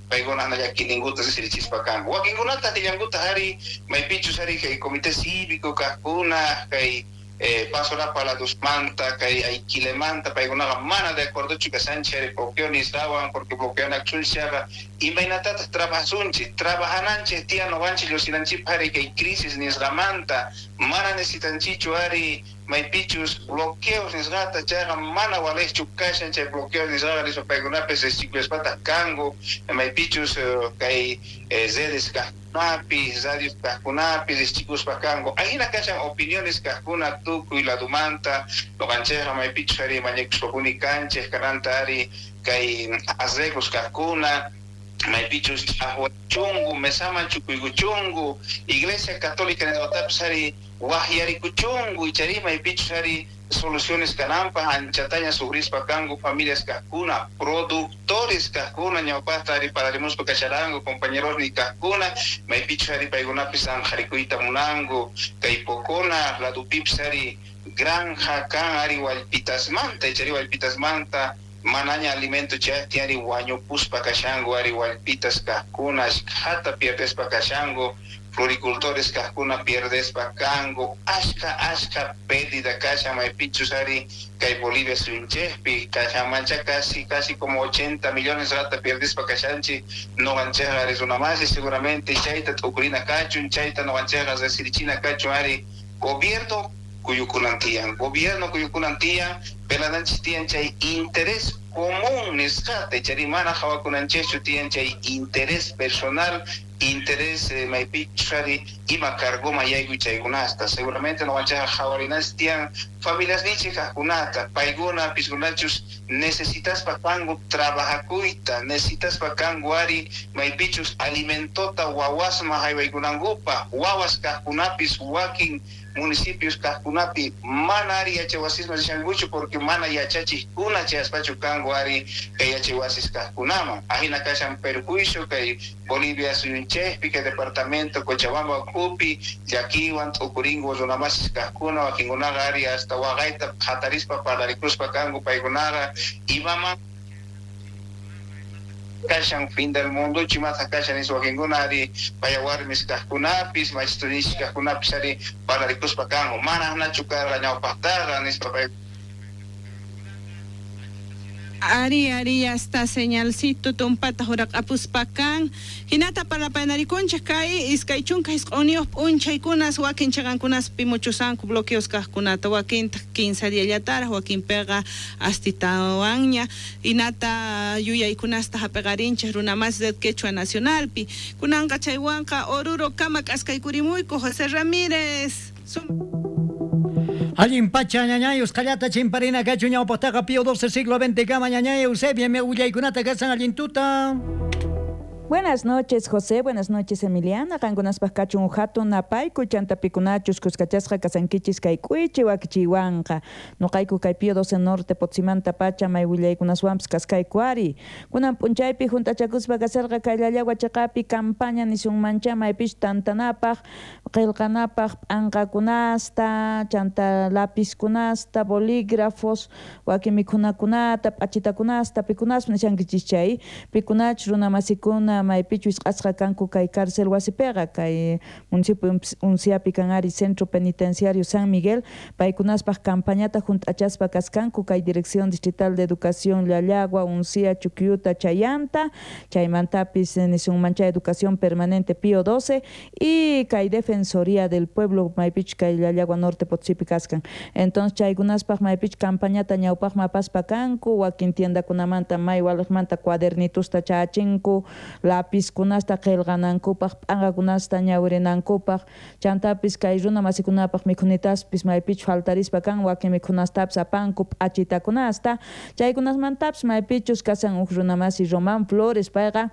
Paykuna llakininkuta riqsirichispa kanku. Wakinkunataq nillankutaq ari maypichus ari kay comité cívico kaqkuna kay Pasorapa ladusmanta kay Aiquilemanta paykunaqa mana de acuerdochu kashanchik ari bloqueo nisqawan porque bloqueanakusunchik imaynatataq trabajasunchik trabajananchik tiyan noqanchik lluqsinanchikpaq ari kay crisis nisqamanta mana necesitanchikchu ari maypichus bloqueos nisqata chayqa mana waliqchu kashan chay bloqueos nisqaqa nispa paykunapis riqsichikuyaspataq kanku maypichus kay redes kaqkunapi radios kaqkunapi riqsichikuspa kanku ahina kashan opiniones kaqkuna tukuy ladumanta noqanchikqa maypichus ari mañakuspapuni kanchik kananta ari kay arreglos kaqkuna maypichus ch'aqwachunku mesaman chukuykuchunku Iglesia Católica nisqatapis ari waqyarikuchunku ichari maypichus ari soluciones kananpaq anchataña sufrispa kanku familias kaqkuna productores kaqkuna ñawpaqta ari parlarimuspa kasharanku compañerosni kaqkuna maypichus ari paykunapis anqarikuyta munanku kay Pocona ladupipis ari granja kan ari wallpitasmanta ichari wallpitasmanta manaña alimento chayaqtin ari wañupuspa kashanku ari wallpitas kaqkuna ashkhata pierdespa kashanku floricultores kaqkuna pierdespa kanku ashka ashka pérdida kashan maypichus ari kay Bolivia suyunchikpi kashanmancha casi casi como 80 millones rata pierdespa kashanchik noqanchikqa ari runamasi seguramente chayta t'ukurina kachun chayta noqanchikqa riqsirichina kachun ari gobierno kuyukunan tiyan gobierno kuyukunan tiyan pelananchik tiyan chay interés común nisqata ichari mana qhawakunanchikchu tiyan chay interés personal interés maypichus ari ima cargoman yaykuy chaykunasta seguramente noqanchikqa qhawarinanchik tiyan familiasninchik kaqkunata paykuna piskunachus necesitaspa kanku trabajakuyta necesitaspa kanku ari maypichus alimentota wawasman haywaykunankupaq wawas kaqkunapis wakin municipios kaqkunapi mana ari yachaywasisman rishankuchu porque mana yachachiqkuna chayaspachu kanku ari kay yachaywasis kaqkunaman ahina kashan perjuicio kay Bolivia suyunchikpi kay departamento Cochabamba ukhupi llakiwan t'ukurinku runamasis kaqkuna wakinkunaqa ari hasta waqayta qhatarispa parlarikuspa kanku paykunaqa imaman kashan fin del mundochu imataq kashan nispa wakinkuna ari paya warmis kaqkunapis machitunichik kaqkunapis ari parlarikuspa kanku mana aqnachu karqa ñawpaqtaqa nispa pay. Ari, ari, ya está señalcito tumpata huraq'apuspa kan. Hinata parlapayanarikunchik kay iskay chunka isq'unniyuq p'unchaykunas wakin chiqankunaspi muchusanku bloqueos kaqkunata wakintaq kinsa diallataraq wakinpiqa astitawanña hinata yuyaykunasta hap'iqarinchik runamasi Red Quechua Nacionalpi. Kunanqa chaywanqa Oruro kama k'askaykurimuyku José Ramírez. Allin pacha ñañay usqhallata chimparina kachu ñawpaqtaqa Pío XII siglo XX kama ñañay Eusebia mi willaykunata kasan allin tuta. Buenas noches, José. Buenas noches, Emiliana. Qankunaspaq kachun hatun napayku chantapikunachus kuskachasqa kasankichis kay k'uichi wakichiwanqa. Nuqayku kay Pío XII Norte Potsimanta pacha may willaykunaswanpis kaskayku ari. Kunan p'unchaypi juntachakuspa kasarqa kay Llallagua chiqapi campaña nisunmancha maypis tantanapaq, qillqanapaq p'anqakunasta, chanta lapizkunasta, bolígrafos, wakin mikhunakunata, p'achitakunasta, pikunaspa nishankichis chay, pikunachus runamasikuna maypichu isq'asqa kanku kay cárcel wasipiqa kay municipio Unciapi kan ari Centro Penitenciario San Miguel paykunaspaq campañata junt'achaspa kaskanku kay Dirección Distrital de Educación Llallagua, Uncia, Chuquiuta, Chayanta, chaymantapis nisunmancha Educación Permanente Pío XII y kay Defensoría del Pueblo maypichu kay Llallagua Norte Potosipi kaskan. Entonces chaykunaspaq maypichu campañata ñawpaqman apaspa kanku wakin tiendakunamanta may waliqmanta cuadernitusta chachinku lapizkunasta qillqanankupaq p'anqakunasta ñawirinankupaq chantapis kay runa masikunapaq mikhunitaspis maypichu faltarispa kan wakin mikhunastapis apanku p'achitakunasta chaykunasmantapis maypichus kasan uj runa masi Román Flores payqa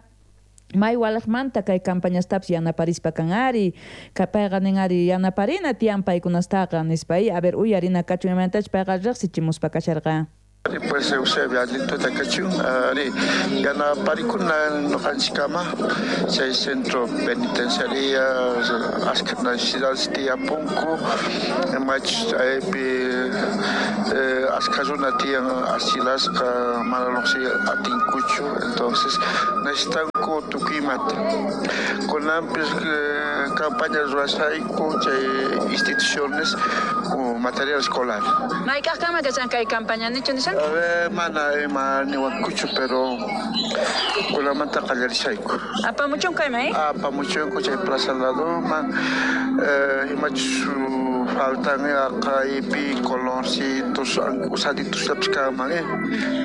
may waliqmanta kay campañastapis yanaparispa kan ari payqa nin ari yanaparina tiyan paykunastaqa nispa a ver uyarina kachun imaynatachus payqa riqsichimuspa kasharqa. Pues Eusebia allintuta kachun ari yanaparikuna noqanchikkama chay centro penitenciaria ashka necesidades tiyapunku machus chaypi ashka runa tiyan asilasqa mana lluqsiy atinkuchu entonces necesitan Apamunku tukuy imata. Kunanpis campaña ruwashayku chay instituciones material escolar. Mayk'aqkama kashan kay campaña nichu nishan? A ver, mana ima niwankuchu, pero kunamanta qallarishayku. Apamuchun kayman, eh? Apamuchunku chay plaza ladoman, imachus faltan aqaypi colorcitos, usaditos kanman, eh?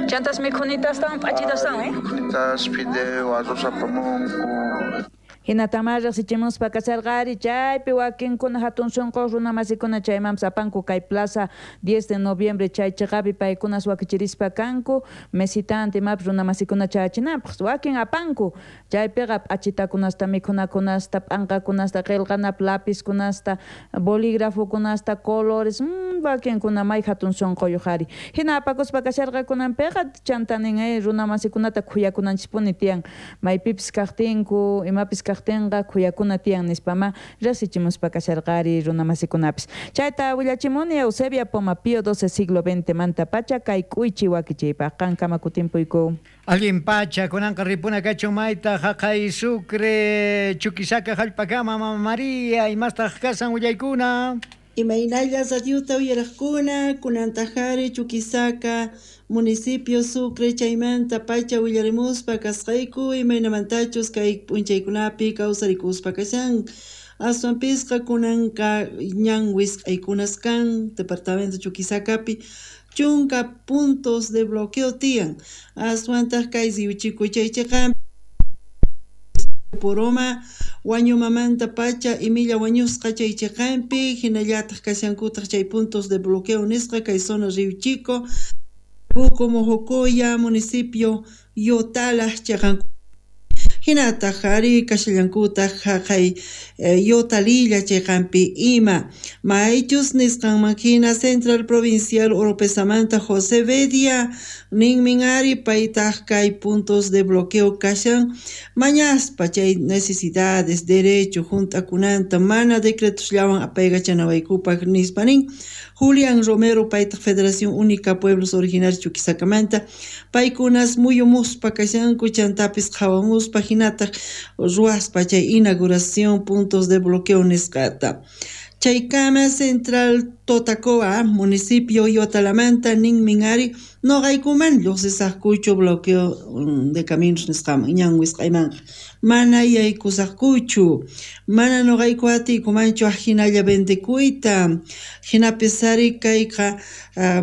Chantas mikhunitastawan p'achitastawan, eh? Mikhunitas, fideo, arroz apamunku. Hinatama riqsichimuspa kasharqari chaypi wakinkuna hatun sunqu runa masikuna chaymanpas apanku kay plaza 10 de noviembre chay chiqapi paykunas wakichirispa kanku mesitante imapas runa masikuna chayachinanpaq wakin apanku chaypiqa p'achitakunasta mikhunakunasta p'anqakunasta qillqanap lapizkunasta bolígrafokunasta colores wakinkuna may hatun sunquyuq ari hina apakuspa kasharqakunanpiqa chanta nin runa masikunata khuyakunanchispuni tiyan maypipis kaqtinku imapis kaqtinqa khuyakuna tiyan nispama riqsichimuspa kasharqari runa masikunapis. Chayta willachimuni Eusebia Poma Pío XII siglo XX manta pacha kay k'uychi wakichiypaq qankama kutimpuyku. Allin pacha kunanqa ripuna kachun mayta jaqay Sucre Chuquisaca jallp'akama Mama María imastaq kasan willaykuna. Imaynalla radiota uyaraqkuna kunantajari Chuquisaca municipio Sucre chaymanta pacha willarimuspa kasqayku imaynamantachus kay p'unchaykunapi kawsarikuspa kashan aswanpisqa kunanqa ñan wisq'aykunas kan departamento Chuquisacapi chunka puntos de bloqueo tiyan aswantaq kay Riuchiku chaychiqan Poroma wañumamanta pacha imilla wañusqa chay chiqanpi hinallataq kashankutaq chay puntos de bloqueo nisqa kay zona Río Chico Buco Mojocoya municipio Yotala chiqanku hinataq ari kashallankutaq jaqay Yotalilla chiqanpi ima maychus nisqanman hina Central Provincial Oropesamanta José Bedia ninmin ari paytaq kay puntos de bloqueo kashan mañaspa chay necesidades derecho hunt'akunanta mana decretosllawan apaykachanawaykupaq nispa nin Julián Romero paytaq Federación Única Pueblos Originarios Chuquisacamanta paykunas muyumuspa kashanku chantapis qhawamuspa hinataq ruwaspa chay inauguración puntos de bloqueo nisqata. Chaykama Central Totacoa municipio Yotalamanta ninmin ari noqaykuman lluqsisaqkuchu bloqueo de caminos nisqaman ñan wisq'aymanqa mana yaykusaqkuchu mana noqayku atiykumanchu ajinalla vendekuyta hinapis ari kayqa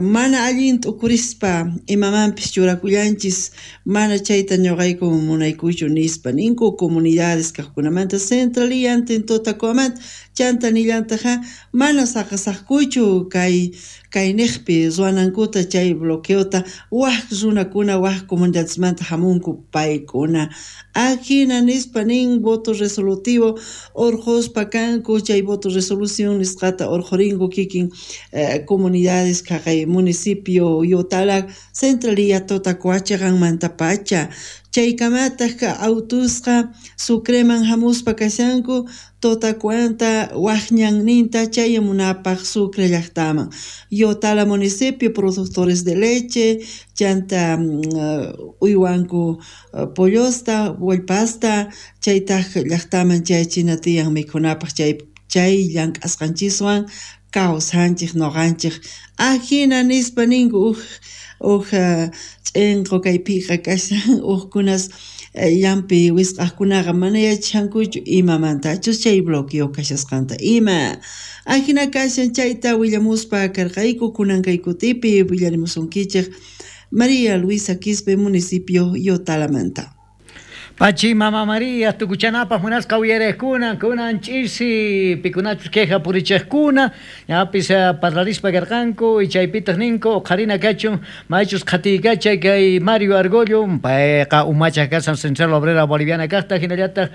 mana allin t'ukurispa imamanpis churakullanchis mana chayta ñuqayku munaykuchu nispa ninku comunidades kaqkunamanta centraliyantin Totacoamanta chanta nillantaqa mana saqasaqkuchu kay kayniqpi ruwanankuta chay bloqueota waj runakuna waj comunidadesmanta hamunku paykuna ajina nispa nin voto resolutivo urquspa kanku chay voto resolución nisqata urqurinku kikin comunidades kaqay municipio Yotala Centralía Totacoa chiqanmanta pacha chaykamataq autusqa Sucreman hamuspa kashanku Totacoanta waj ñanninta chayamunapaq Sucre llaqtaman Yotala municipio productores de leche chanta uywanku pollosta wallpasta chaytaq llaqtaman chayachina tiyan mikhunapaq chay llank'asqanchiswan kawsanchik noqanchik ajina nispa ninku uj ch'inqu kaypiqa kashan ujkunas llampi wisq'aqkunaqa mana yachashankuchu imamantachus chay bloqueo kashasqanta ima ajina kashan chayta willamuspa karqayku kunan kay kutipi willarimusunkichik María Luisa Quispe municipio Yotalamanta. Pachi Mama María, tukuchanapaq munasqa uyariqkuna, kunan ch'isi pikunachus queja purichiqkuna, ñapis parlarispa karqanku y chaypitaq ninku uqharina kachun maychus qhatiykachay kay Mario Argollo, payqa umachaq kasan Central Obrera Boliviana kaqta hinallataq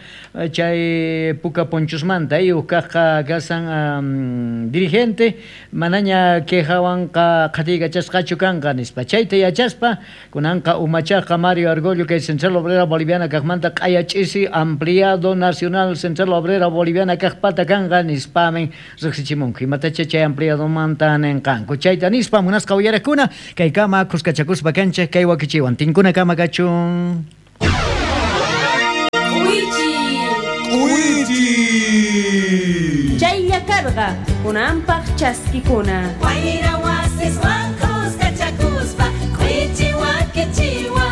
chay Puka Ponchosmanta uj kaqqa kasan dirigente manaña quejawanqa qhatiykachasqachu kanqa nispa chayta yachaspa kunanqa umachaqqa Mario Argollo kay Central Obrera Boliviana kaqmanta manta q'ayach'isi ampliado nacional Central Obrera Boliviana kaqpata kanqa nispamin riqsichimunku imatacha chay ampliadomanta ninqanku chayta nispa munasqa uyariqkuna kaykama khuskachakuspa kanchik kay wakichiwan tinkuna kama kachun. karqa, kunanpaq chaskikuna. Wayra wasiswan kuskachakuspa k'uichi wakichiwa.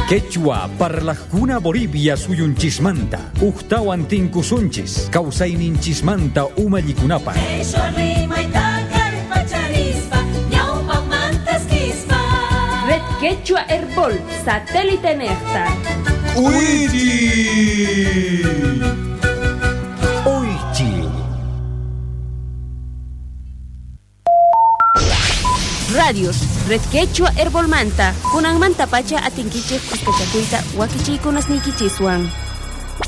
Quechua parlajkuna Bolivia suyunchismanta ujtawan tinkusunchis kawsayninchismanta umallikunapaq. Qheshwa rimayta kallpacharispa ñawpaqmantas kispa. Red Quechua Herbol, satélite nejta. Uychi. Uychi. Radios, Red Quechua Herbolmanta, kunanmanta pacha atinkichej kuskachakuyta wakichiykunasniykichiswan.